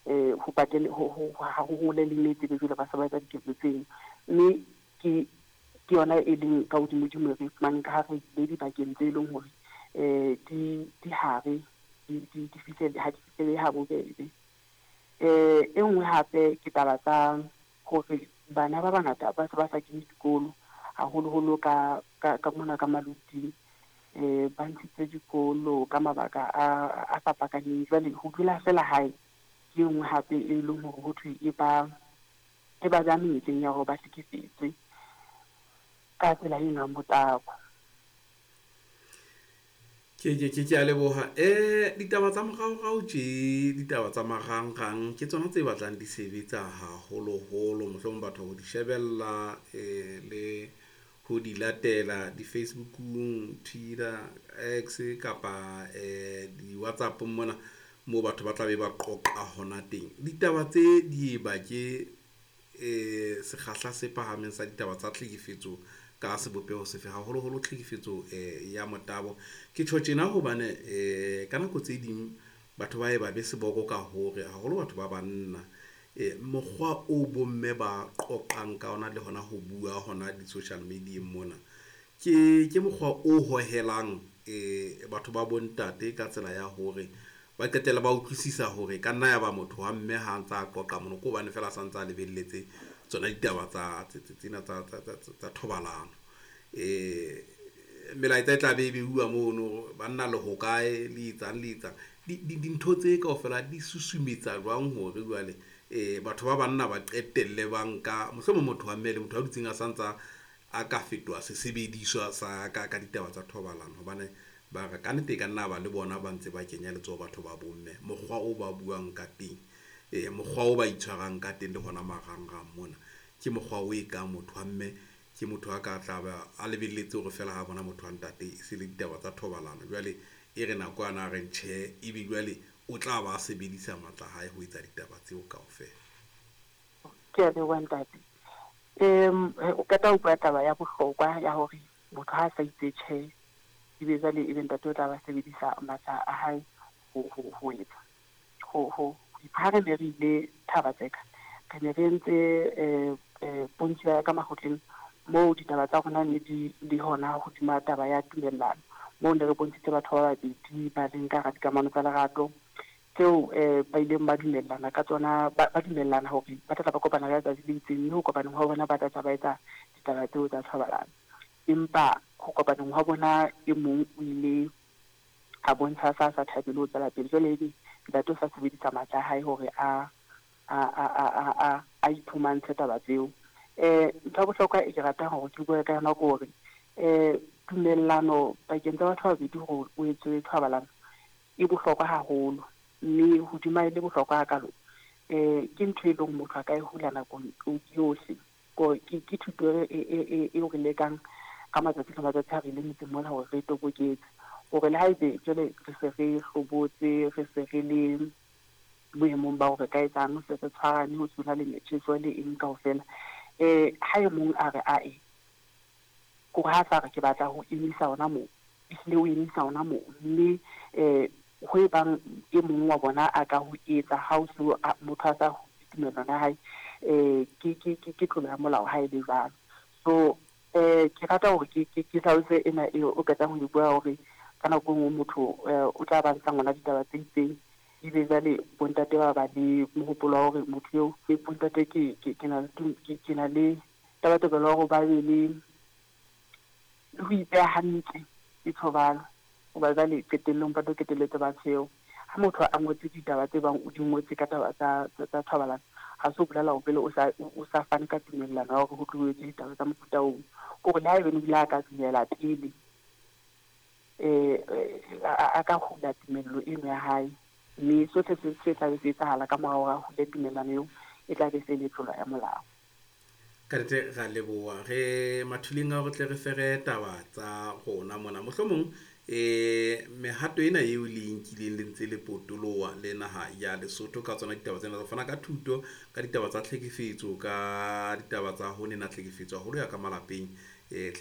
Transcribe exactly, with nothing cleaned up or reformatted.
um ho patele ho ha ho hole le metse be jwale ba se ba etsa diketso tseno. Mme ke ke yona e leng ka hodimodimo re fumaneng ka ha re ile dibakeng tse leng hore um di di hare di di di fihlele ha di fihlele ha bobebe. Um e nngwe hape ke taba tsa hore bana ba bangata ba se ba sa kene dikolo haholoholo ka ka ka mona ka maluting. Um ba ntshitse dikolo ka mabaka a a fapakaneng. Jwale ho dula fela hae ke e nngwe hape e leng hore ho thwe e ba e ba beha menyetleng ya hore ba hlekefetswe ka tsela e nang motabo. Ke ke ke ke a leboha. Eh ditaba tsa moraorao tje, ditaba tsa marangrang ke tsona tse batlang di sebetsa haholoholo, mohlomong batho ho di shebella eh le ho di latela di-Facebook-ung, Twitter, X kapa eh di-WhatsApp-ong mona moo batho ba tla be ba qoqa hona teng. Ditaba tse di e ba ke eh sekgahla se phahameng sa ditaba tsa tlhekefetso ka sebopeho sefe, haholoholo tlhekefetso eh ya motabo. Ke tjho tjena hobane eh ka nako tse ding batho ba e ba be seboko ka hore haholo batho ba banna eh mokgwa o bomme ba qoqang ka ona le hona ho bua hona di-social media mona ke ke mokgwa o hohelang eh batho ba bontate ka tsela ya hore ba qetella ba utlwisisa hore ka nna ya ba motho wa mme ha ntsa qoqa mono ke hobane fela a santse a lebelletse tsona ditaba tsa tsena tsa tsa tsa thobalano. Eh melaetsa e tla be e beuwa mono, banna le hokae, le etsang le etsang. Dintho tse kaofela di susumetsa jwang hore jwale eh batho ba banna ba qetelle ba nka mohlomong motho wa mme le motho a dutseng a santsa a ka fetoha sesebediswa sa ka ka ditaba tsa thobalano, hobane ba re ka nnete e ka nna ba le bona ba ntse ba kenya letsoho batho ba bomme. Mokgwa o ba buang ka teng, eh mokgwa o ba itshwarang ka teng le hona marangrang mona ke mokgwa o e kang motho wa mme ke motho a ka tla ba a lebelletse hore fela ha bona motho wa ntate e se le ditaba tsa thobalano. Jwale e re nakwana a re tjhe, ebe jwale o tla ba sebedisa matla a hae ho etsa ditaba tseo kaofela. Ke a leboha ntate. Um o qeta ho bua taba ya bohlokwa ya hore motho ha a sa itse tjhe, ebe jwale ebe ntate o tla ba sebedisa matla a hae ho ho ho etsa ho ho ha re ne re ile Thaba-Tseka, re ne re entse eh eh pontsho ya ka makgotleng moo ditaba tsa rona ne di le hona hodima taba ya tumellano. Moo ne re bontshitse batho ba babedi ba leng ka hara dikamano tsa lerato tseo eh ba ileng ba dumellana ka tsona, ba ba dumellana hore ba tla ba kopana ka letsatsi le itseng, mme ho kopaneng hwa bona ba tla tla ba etsa ditaba tseo tsa thobalano. Empa ho kopaneng hwa bona e mong o ile a bontsha sa sa thabele ho tswela pele. Jwale ebe ntate o sa sebedisa matla a hae hore a a a a a a iphumantshe taba tseo. Eh ntho ya bohlokwa e ke ratang hore ke bue ka yona ke hore eh tumellano pakeng tsa batho ba babedi hore o etswe thobalano e bohlokwa haholo, mme hodima e le bohlokwa hakalo eh ke ntho e leng motho a ka e hula nakong yohle. Ko ke ke thuto e e e re lekang ka matsatsi le matsatsi ha re ile metseng mona hore re toboketse hore le haebe jwale re se re hlobotse, re se re le boemong ba hore ka etsang, se re tshwarane ho sona le metjheso le eng kaofela. Eh ha e mong a re ae, kore ha sa re ke batla ho emisa hona moo, ehlile o emisa hona moo. Mme eh ho e bang e mong wa bona a ka ho etsa ha o so motho a sa tumellano ya hae, eh ke ke ke ke tlolo ya molao ha e le jwalo. So eh ke rata hore ke ke ke hlalose ena eo o qetang ho e bua hore ka nako e nngwe motho o tla ba ntsha ngwana ditaba tse itseng, ebe jwale bontate ba ba le mohopolo wa hore motho eo bontate ke ke ke na ke ke na le tabatabelo ya hore ba be le le ho ipeha hantle ke thobalo. Hoba jwale qetellong ba tlo qetelletse ba tsheo. Ha motho a ngotse ditaba tse bang o di ngotse ka taba tsa tsa thobalano, ha se ho bolela hore pele o sa o sa fane ka tumellano ya hore ho tlo etswe ditaba tsa mofuta oo. Kore le haebane o ile a ka dumela pele, eh a ka hula tumello eno ya hae, mme sohle se se tla be se etsahala ka mora hore a hule tumellano eo e tla be se le tlolo ya molao. Ka nnete ra leboha re mathuleng a hore tle re fere taba tsa rona mona. Mohlomong eh mehato ena eo le nkileng le ntse le potoloha le naha ya Lesotho ka tsona ditaba tsena tsa fana ka thuto ka ditaba tsa tlhekefetso, ka ditaba tsa ho nena tlhekefetso haholo ya ka malapeng, eh